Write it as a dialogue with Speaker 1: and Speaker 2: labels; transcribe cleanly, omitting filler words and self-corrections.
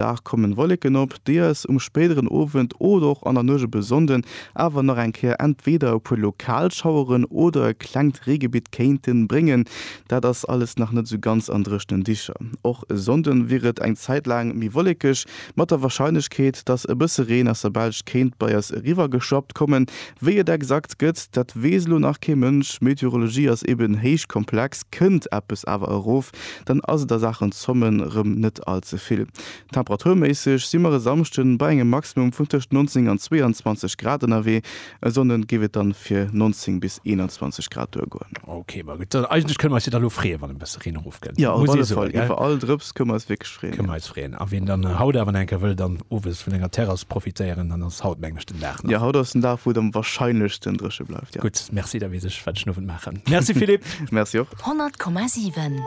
Speaker 1: Dag kommen Wolleken op, déi eis um spéideren Owend oder och an der Nuecht op e Sonnden awer nach eng Kéier entweder e puer lokal Schaueren oder e klengt Reegebitt kéinten bréngen. Dat ass alles nach net esou ganz an dréchnen Dicher. Och e Sonnden wier et eng Zäit laang méi wollekeg, mat der Warscheinlechkeet, dass e bësse Reen aus der Belsch kéint bei eis eriwwergeschwappt kommen. Wéi et exakt gëtt, dat weess elo nach kee Mënsch. Meteorologie ass eben héich komplex, kënnt eppes awer erof, dann ass et a Saachen Zommen rëm net all ze vill. Temperaturméisseg si mer e Samschden bei engem Maximum vun tëscht 19 an 22 Grad ënnerwee, e Sonnden géif et dann fir 19 bis 21 Grad duergoen.
Speaker 2: Ok, ma gutt, eigentlech kënne mer eis jo da lo freeën, wann e bësse Reen erofkënnt,
Speaker 1: Jo, op alle Fall, iwwer all Drëps kënne mer eis wierklech freeën.
Speaker 2: Kënne mer eis freeën. A wien dann haut awer nach eng Kéier wëll dann owes vun enger Terrass profitéieren, dann ass haut, mengen ech, den Dag nach.
Speaker 1: Jo, haut ass den Dag, wou et am warscheinlechsten dréche bleift, jo.
Speaker 2: Gutt, merci, da weess ech, wat ech den Owend maachen. Merci Philippe.
Speaker 1: Merci och.
Speaker 3: 100,7.